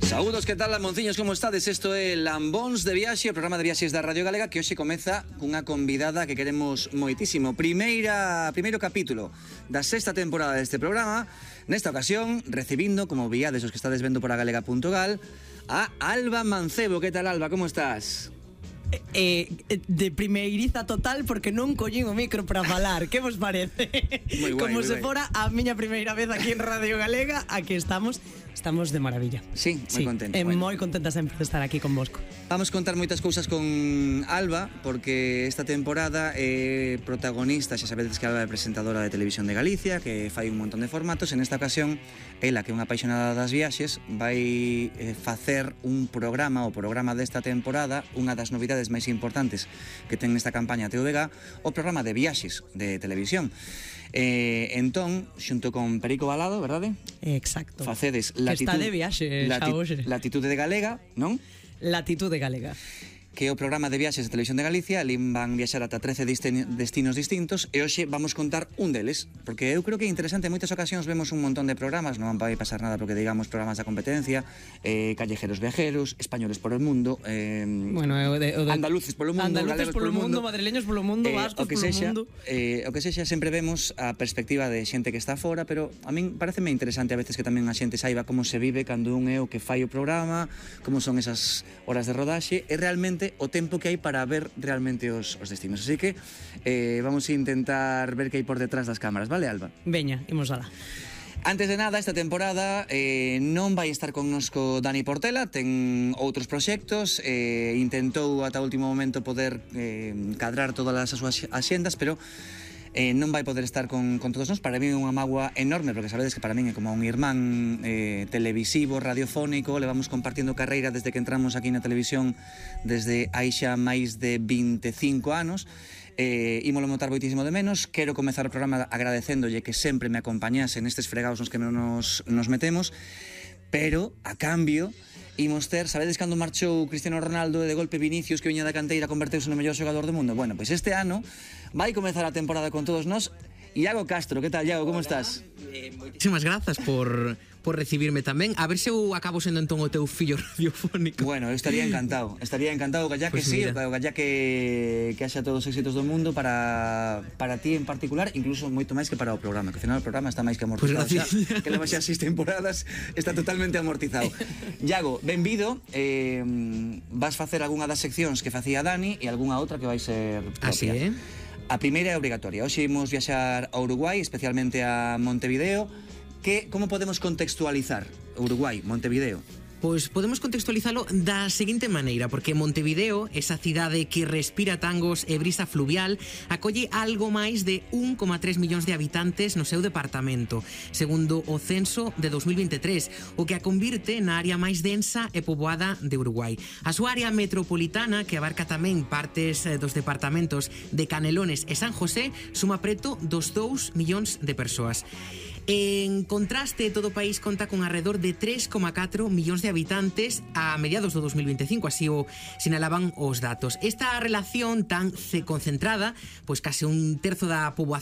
Saúdos, que tal, Lamonciños, como estades? Isto é Lambóns de Viaxe, o programa de viaxes da Radio Galega, que hoxe comeza cunha convidada que queremos moitísimo. Primeiro capítulo da sexta temporada deste programa. Nesta ocasión, recibindo, como viades os que estades vendo por a galega.gal, a Alba Mancebo. Que tal, Alba? Como estás? De primeiriza total, porque non collín o micro para falar. Que vos parece? Moi guai, como moi se guai. fora a miña primeira vez aquí en Radio Galega. Aquí estamos de maravilla. Sí, moi contento. Moi contenta sempre de estar aquí con vosco. Vamos contar moitas cousas con Alba, porque esta temporada é protagonista. Xa sabedes que Alba é presentadora de Televisión de Galicia, que fai un montón de formatos. En esta ocasión, ela, que é unha apaixonada das viaxes, vai facer un programa, o programa desta temporada, unha das novidades máis importantes que ten nesta campaña TVG, o programa de viaxes de televisión. Entón, xunto con Perico Balado, verdade? Exacto. Facedes que está de viaxe xa hoxe. Latitude de Galega, non? Latitude Galega, Que é o programa de viaxes de Televisión de Galicia. Ali van viaxar ata 13 destinos distintos, e hoxe vamos contar un deles, porque eu creo que é interesante. En moitas ocasións vemos un montón de programas, non vai pasar nada porque digamos programas da competencia, callejeros viajeros, españoles por el mundo, bueno, andaluces polo mundo, andaluces polo mundo, madrileños polo mundo, vascos polo mundo. O que sexa, sempre vemos a perspectiva de xente que está fora, pero a min pareceme interesante a veces que tamén a xente saiba como se vive cando un é o que fai o programa, como son esas horas de rodaxe e realmente o tempo que hai para ver realmente os destinos. Así que vamos a intentar ver que hai por detrás das cámaras, vale, Alba? Veña, imos alá. Antes de nada, esta temporada non vai estar connosco Dani Portela, ten outros proxectos, intentou ata o último momento poder cadrar todas as súas axendas, pero non vai poder estar con todos nós. Para mí é unha mágoa enorme, porque sabedes que para min é como un irmán televisivo, radiofónico. Levamos compartindo carreira desde que entramos aquí na televisión, desde hai xa máis de 25 anos. Ímolo notar moitísimo de menos. Quero comezar o programa agradecéndolle que sempre me acompañase nestes fregados nos que nos metemos, pero a cambio imos ter, sabedes cando marchou Cristiano Ronaldo e de golpe Vinicius, que viña da canteira, converteuse no mellor xogador do mundo? Bueno, pois este ano vai comezar a temporada con todos nós Iago Castro. Que tal, Iago? Como estás? Moitísimas grazas por recibirme tamén. A ver se eu acabo sendo entón o teu fillo radiofónico. Bueno, eu estaría encantado, galla que Pues sí, mira. galla que haxa todos os éxitos do mundo para ti en particular, incluso moito máis que para o programa, que ao final o programa está máis que amortizado, Pues xa, que leva xa 6 temporadas, está totalmente amortizado. Iago, benvido. Vas facer algunha das seccións que facía Dani e algunha outra que vai ser propia. Así é. A primeira é obrigatoria. Hoxe imos viaxar a Uruguai, especialmente a Montevideo. Como podemos contextualizar Uruguai, Montevideo? Pois podemos contextualizalo da seguinte maneira, porque Montevideo, esa cidade que respira tangos e brisa fluvial, acolle algo máis de 1,3 millóns de habitantes no seu departamento, segundo o censo de 2023, o que a convirte na área máis densa e poboada de Uruguai. A súa área metropolitana, que abarca tamén partes dos departamentos de Canelones e San José, suma preto dos 2 millóns de persoas. En contraste, todo o país conta con alrededor de 3,4 millóns de habitantes a mediados do 2025, así o sinalaban os datos. Esta relación tan concentrada, pois case un terzo da poboación